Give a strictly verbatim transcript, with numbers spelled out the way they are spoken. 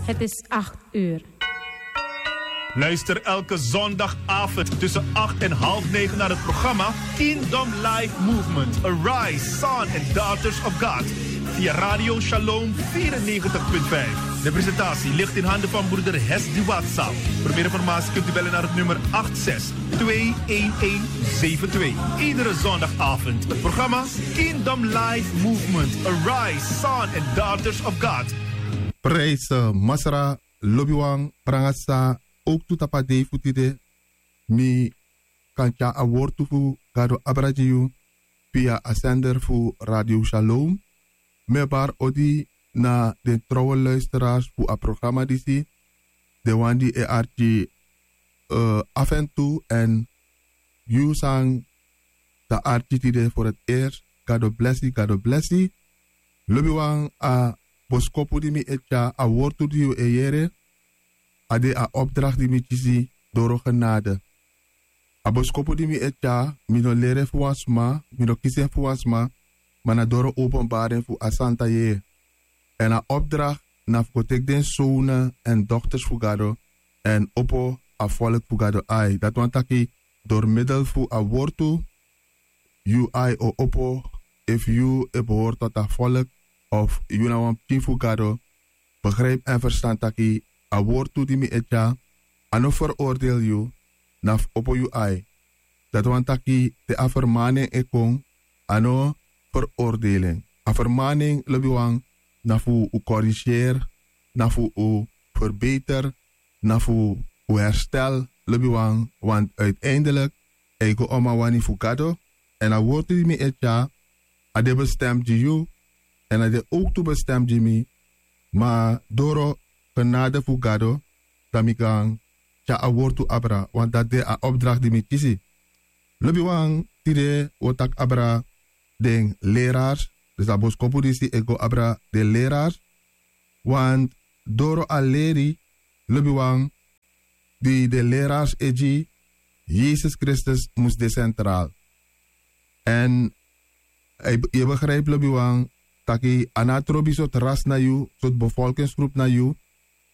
Het is acht uur. Luister elke zondagavond tussen acht en half negen naar het programma Kingdom Life Movement. Arise, Son and Daughters of God. Via Radio Shalom vierennegentig punt vijf. De presentatie ligt in handen van broeder Hesdy Watsa. Voor meer informatie kunt u bellen naar het nummer acht zes twee een een zeven twee. Iedere zondagavond het programma Kingdom Life Movement. Arise, Son and Daughters of God. Prijse, masra, lobiwan, prangasa, ook tu tapadei fu tide. Mi kan tyari a wortu fu Gado abra gi yu via a sender fu Radio Shalom. Mi e bari odi na den trouwe luisteraars fu a programma disi. Den wan di e arki, eh, af en toe, en yu san sa arki tide voor het eerst. Gado blesi, Gado blesi. Lobiwan, a boskopu di mi e tyari, a wortu di yu e yere, a de a opdracht di mi kisi doro genade. A boskopu di mi e tyari, mi no leri en fu wan sma, mi no kisi en fu wan sma, ma na doro openbaring fu a Santa Yeye. En a opdracht na fu go teki den zonen en dochters fu Gado en opo a volk fu Gado ai. Dati wani taki, door middel fu a wortu, yu ai o opo, efu yu e behoort tot a volk of yu na wan pikin fu Gado, begrijp en verstan taki a wortu di mi e tyari, a no veroordeel yu, na fu opo yu ai. Dati wani taki te a vermaning e kon, a no veroordeling. A vermaning, lobiwan, na fu u corrigeer, na fu u verbeter, na fu u herstel, lobiwan, want uiteindelijk e go om a wani fu Gado. En a wortu di mi e tyari, a de bestem gi yu, en a de ook tu bestem gi mi, ma doro genade fu Gado, dan mi kan tyari a wortu abra, want dati de a opdracht di mi kisi. Lobiwan, tide wi o taki abra den leraars, dus a boskopu disi e go abra den leraars, want doro a leri, lobiwan, di den leraars e gi, Yesus Kristus mus de centraal. En yu e begrijp, lobiwan, taki a no trobi sortu ras na yu, sortu bevolkingsgroep na yu,